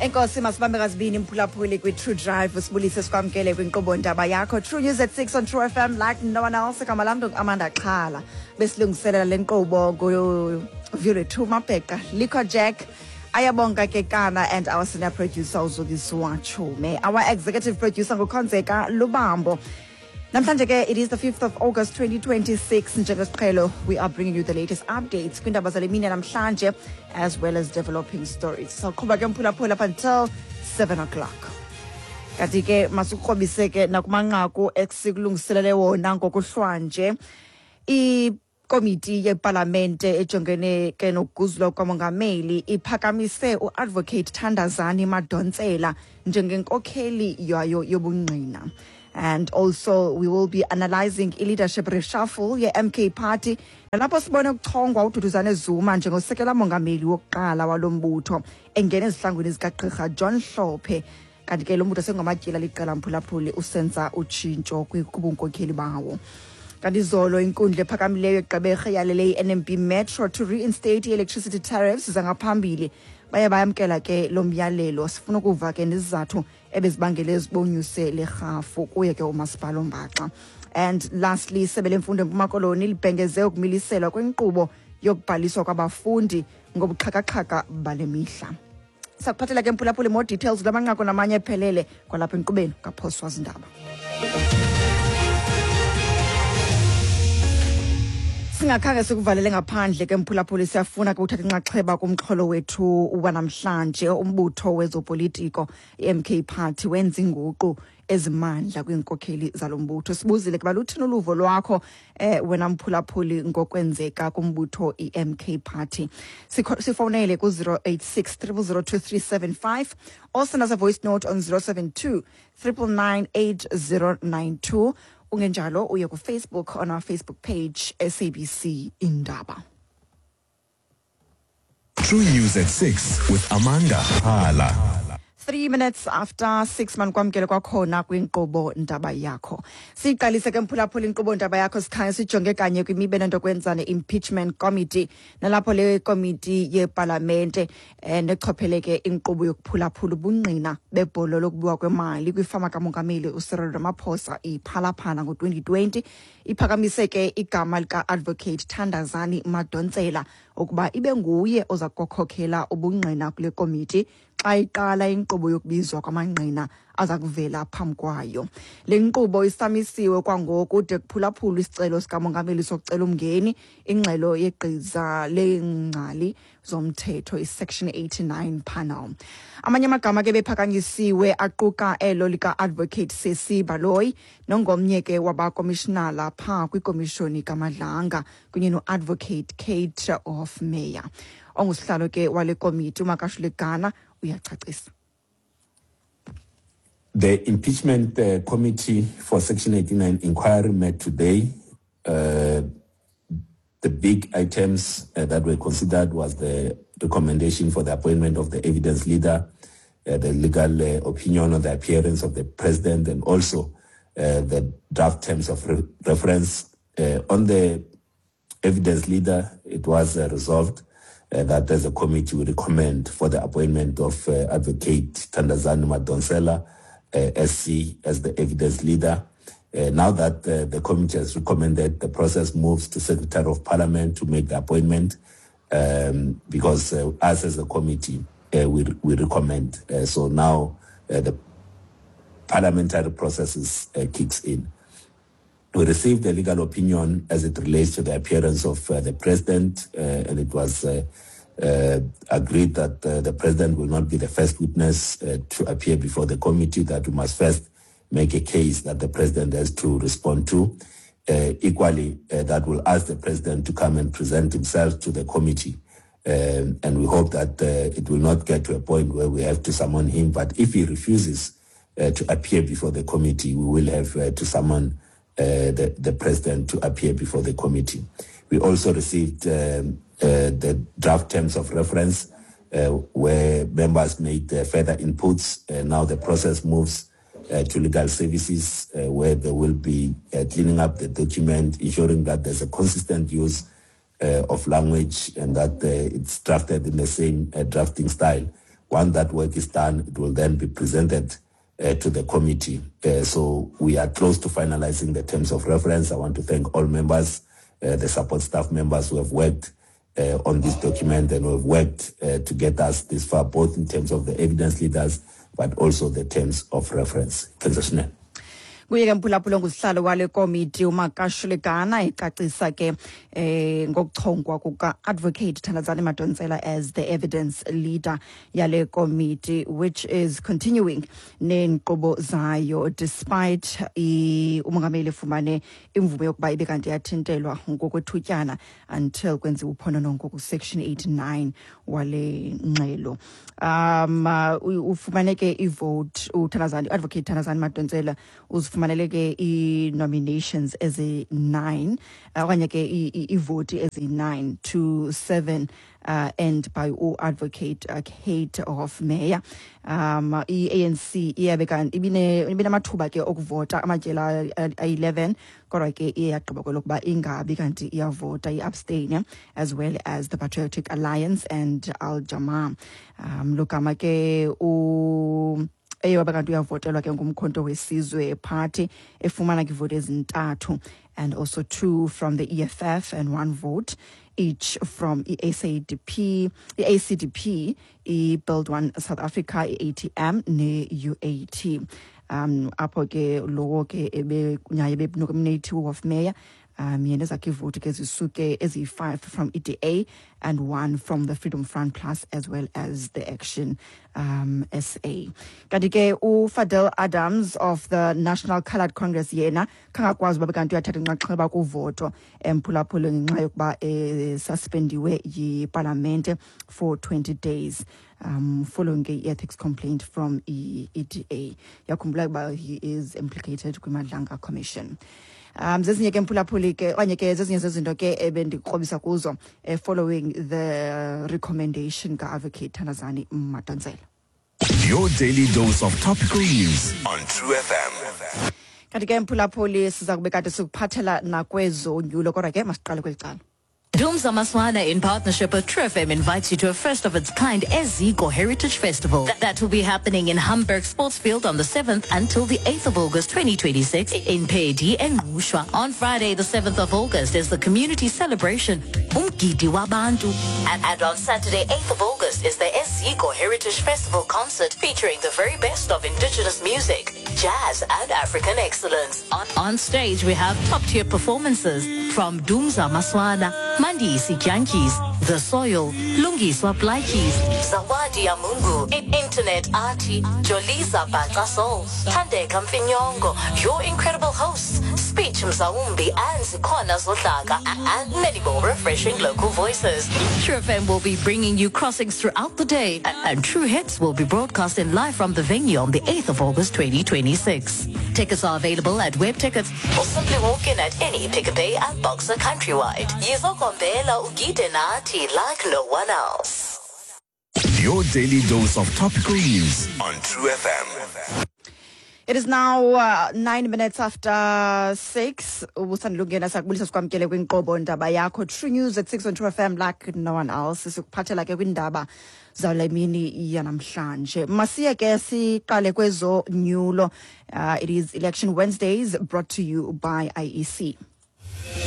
Enkosi, masibambe ngazibini, mphulaphuli kwi-True Drive. Sibulise, sikwamkele kwinkqubo ndaba yakho, True News at 6 on True FM like no one else. Igama lam Amanda Xhala. Besilungiselela le nkqubo nguVulethu Mabheqa, Lico Jack, Ayabonga Kekana and our senior producer uZukiswa Chume. Our executive producer nguKhonzeka Lubambo. Namhlanje ke it is the 5th of August 2026. Njengesiqhelo, we are bringing you the latest updates kwindaba zale mini namhlanje as well as developing stories. Sawuqhuba ke, mphulaphula, up until 7 o'clock. Kanti ke masukrobise ke nakumanqaku esikulungiselele wona ngokuhlwanje. Ikomiti yepalamente ejongene ke nokuguzulwa kwamongameli iphakamise uAdvocate Thandazani Madonsela njengenkokheli yayo yobungqina. And also we will be analyzing i-leadership reshuffle ye-MK Party, nalapho sibone ukuchongwa uDuduzane Zuma njengosekela mongameli wokuqala walo mbutho, engena ezihlangwini zikagqirha John Hlophe. Kanti ke lo mbutho sengamatyila liqela, mphulaphuli, usenza utshintsho kubunkokheli bawo. Kanti izolo inkundla ephakamileyo eGqeberha yalele i-NMB Metro to reinstate i-electricity tariffs zangaphambili. Baye bayamkela ke lo myalelo. Sifuna ukuva ke nezizathu ebezibangele zibonyuse le rhafu kuye ke umasipala ombaxa. And lastly, isebe lemfundo eMpuma Koloni libhengeze ukumiliselwa kwenkqubo yokubhaliswa kwabafundi ngobuxhakaxhaka bale mihla. Sakuphathela ke, mphulaphuli, more details kula manqaku namanye ephelele kwalapha enkqubeni kaphoswa zindaba. Singakhange sikuvalele ngaphandle ke, mphulaphuli, siyafuna ke uthatha inxaxheba kumxholo wethu wanamhlanje. Umbutho wezopolitiko i-MK Party wenza inguqu ezimandla kwiinkokheli zalo mbutho. Sibuzile ke baluthini uluvo lwakho wena mphulaphuli ngokwenzeka kumbutho i-MK Party. Sifowunele ku-086 0002375 or send us a voice note on 072 999 8092. Ungenjalo uye kuFacebook on our Facebook page, SABC Indaba. True News at 6 with Amanda Hala. 6:03, manikwamkele kwakhona kwinkqubo ndaba yakho. Siyiqalise ke, mphulaphula, inkqubo ndaba yakho sikhanye sijonge kanye kwimiba enento kwenza ne-impeachment committee, nalapho le komiti yepalamente nechopheleke inkqubo yokuphulaphula ubungqina bebholo lokubiwa kwemali kwifama kamongameli uCyril Ramaphosa iPhalaphala ngo-2020 iphakamise ke igama lika-Advocate Thandazani Madonsela ukuba ibe nguye oza kukhokhela ubungqina kule komiti xa iqala inkqubo yokubizwa kwamangqina aza kuvela phambi kwayo. Le nkqubo isamisiwe kwangoku de kuphulaphulwe isicelo sikamongameli sokucela umngeni ingxelo yegqiza leengcali zomthetho, iSection 89 panel. Amanye amagama ke bephakanyisiwe aquka elo lika-Advocate Sesi Baloyi, nongomnye ke wabakomishinala phaa kwikomishoni kaMadlanga, kunye no-Advocate Kate Hofmeyer. Ongusihlalo ke wale komiti, uMakashule Gana, uyacacisa. The impeachment committee for Section 89 inquiry met today. The big items that were considered was the recommendation for the appointment of the evidence leader, the legal opinion on the appearance of the president, and also the draft terms of reference. On the evidence leader, it was resolved that as a committee we recommend for the appointment of Advocate Thandazani Madonsela, SC, as the evidence leader. Now that the committee has recommended, the process moves to Secretary of Parliament to make the appointment, because us as a committee, we recommend. So now the parliamentary processes kicks in. We received a legal opinion as it relates to the appearance of the president, and it was agreed that the president will not be the first witness to appear before the committee, that we must first make a case that the president has to respond to. Equally, that will ask the president to come and present himself to the committee. And we hope that it will not get to a point where we have to summon him. But if he refuses to appear before the committee, we will have to summon the president to appear before the committee. We also received the draft terms of reference where members made further inputs. Now the process moves to legal services where they will be cleaning up the document, ensuring that there's a consistent use of language and that it's drafted in the same drafting style. Once that work is done, it will then be presented to the committee. So we are close to finalizing the terms of reference. I want to thank all members, the support staff members who have worked on this document and who have worked to get us this far, both in terms of the evidence leaders, but also the terms of reference. Transitional. Kuye ke, mphulaphula, ngusihlalo wale komiti uMakashule Gana ecacisa ke ngokuchongwa kuka-Advocate Thandazani Madonsela as the evidence leader yale komiti, which is continuing neenkqubo zayo despite umongameli efumane imvume yokuba ibe kanti yathintelwa ngokwethutyana until kwenziwa uphononongo ku-section 89 wale ngxelo. Ufumane ke ivote uThandazani, Advocate Thandazani Madonsela uzifumanele ke ii-nominations ezi-9 okanye ke iivoti ezi-9 to 7 and by u-Advocate Kate Hofmeyer. I-ANC iyabe kanti ibinamathuba ke okuvota amatyela ayi-11, kodwa ke iye yagqiba kwelokuba ingabi kanti iyavota, i-abstain, as well as the Patriotic Alliance and Al Jama. Logama ke u eye wabe kanti uyavotelwa ke nguMkhonto weSizwe Party, efumana ke ivoti ezintathu, and also two from the EFF and one vote each from i-SADP, i-ACDP, i-Build One South Africa, i-ATM ne-UAT. Apho ke lowo ke naye benominate uHofmeyer, yena ezakhe ivoti ke zisuke eziyi-5 from EDA and one from the Freedom Front Plus, as well as the Action SA. Kanti ke uFadel Adams of the National Coloured Congress yena khangakwazi uba kanti uyathatha inxaxheba kuvoto, emphulaphula, ngenxa yokuba esuspendiwe yipalamente for 20 days following a ethics complaint from i-EDA. Yakhumbula ukuba he is implicated kwiMadlanga Commission. Zezinye ke, mphulaphuli, ke okanye ke zezinye zezinto ke ebendikrobisa kuzo following the recommendation ka-Advocate Thandazani Madonsela. Your daily dose of topical news on True FM. Kanti ke, mphulaphuli, siza kube kade sikuphathela nakwezonyulo, kodwa ke masiqale kweli cala. Dumza Maswana, in partnership with True FM, invites you to a first of its kind Eziko Heritage Festival. That will be happening in Hamburg Sportsfield on the 7th until the 8th of August 2026 in Peddie and Ngqushwa. On Friday, the 7th of August, is the community celebration Umgidi Wabantu. And on Saturday, 8th of August, is the Eziko Heritage Festival concert featuring the very best of indigenous music, jazz, and African excellence. On stage, we have top-tier performances from Dumza Maswana, Mandisi Dyantyis, The Soil, Lungiswa Plaatjies, Zawadi Yamungu, Internet Artie, Joliza Bhaca Soul, Thandeka Mfinyongo, your incredible hosts, Speech Mzawumbi and Zikona Zodlaka, and many more refreshing local voices. True FM will be bringing you crossings throughout the day, and True Hits will be broadcasting live from the venue on the 8th of August 2026. Tickets are available at Web Tickets or simply walk in at any Pick n Pay and Boxer countrywide. Yizokombela ugide nathi like no one else. Your daily dose of topical news on True FM. It is now 6:09. Ubusandulungena, sakubulisa, sikwamkele kwinkqubo Ndaba Yakho, True News at 6 on True FM, like no one else. Sikuphathela ke kwindaba zale mini yanamhlanje. Masiye ke siqale kwezonyulo. It is Election Wednesdays, brought to you by IEC.